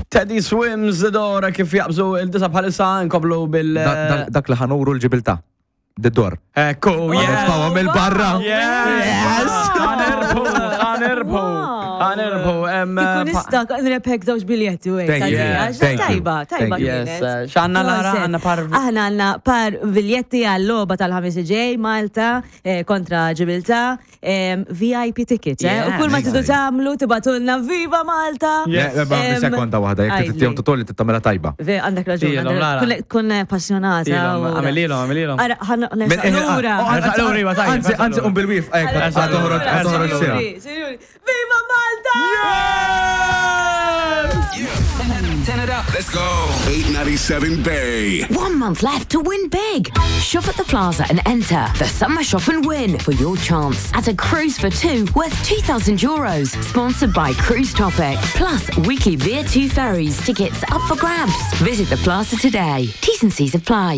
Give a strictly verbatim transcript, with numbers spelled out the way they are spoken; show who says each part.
Speaker 1: Teddy Swims Door kif jaqbżu il-disa bħalissa nkomplu bil.
Speaker 2: Da- da- Dak li ħa nuru l-Ġibiltà. D-dor.
Speaker 1: Ekku, yes!
Speaker 2: Nitfgħuha mill-barra.
Speaker 1: Yes! Ħa nirbħu, ħa nirbħu, ħa nirbħu. em,
Speaker 3: Kieku
Speaker 1: pa-
Speaker 3: nista' nrebħek żewġ biljetti u hekk.
Speaker 2: Thank you.
Speaker 3: għalija,
Speaker 2: Thank you.
Speaker 3: Tajba, tajba
Speaker 2: Thank you.
Speaker 1: Yes,
Speaker 3: kienet.
Speaker 1: eh, x'għandna Lara?
Speaker 3: Proset.
Speaker 1: Għandna par-
Speaker 3: Aħna għandna par biljetti għal-logħba tal-ħamis ġej Malta eh, kontra Ġibiltà, em, V I P ticket, eh?
Speaker 1: Yeah.
Speaker 3: U kull ma tridu tagħmlu tibagħtulna "Viva Malta!"
Speaker 2: Le, le, ma,
Speaker 3: Em,
Speaker 2: sekonda waħda, jekk
Speaker 3: għidli.
Speaker 2: tittihom tutolli tittamela tajba.
Speaker 3: Ve, għandek raġun,
Speaker 1: Tilhom,
Speaker 3: għandek-
Speaker 1: Lara.
Speaker 3: kun- kun passjonata.
Speaker 1: Tilhom,
Speaker 3: u-
Speaker 1: għamililhom, għamililhom.
Speaker 3: Ara, ħan lura.
Speaker 2: Oh,
Speaker 1: Ersaq lura, iva, tajjeb,
Speaker 2: Anzi,
Speaker 1: ersaq
Speaker 2: anzi,
Speaker 1: lura.
Speaker 2: um bil-wif, ek,
Speaker 1: Ersaq
Speaker 2: toħroġ,
Speaker 1: lura,
Speaker 2: toħroġ
Speaker 1: ersaq
Speaker 2: sira.
Speaker 3: Sinjuri, sinjuri, Viva Malta!
Speaker 4: Turn it up.
Speaker 5: Let's go. eight ninety-seven Bay.
Speaker 6: One month left to win big. Shop at the Plaza and enter the Summer Shop and Win for your chance at a cruise for two worth two thousand euros. Sponsored by Cruise Topic. Plus, weekly Veer two ferries tickets up for grabs. Visit the Plaza today. T's and C's apply.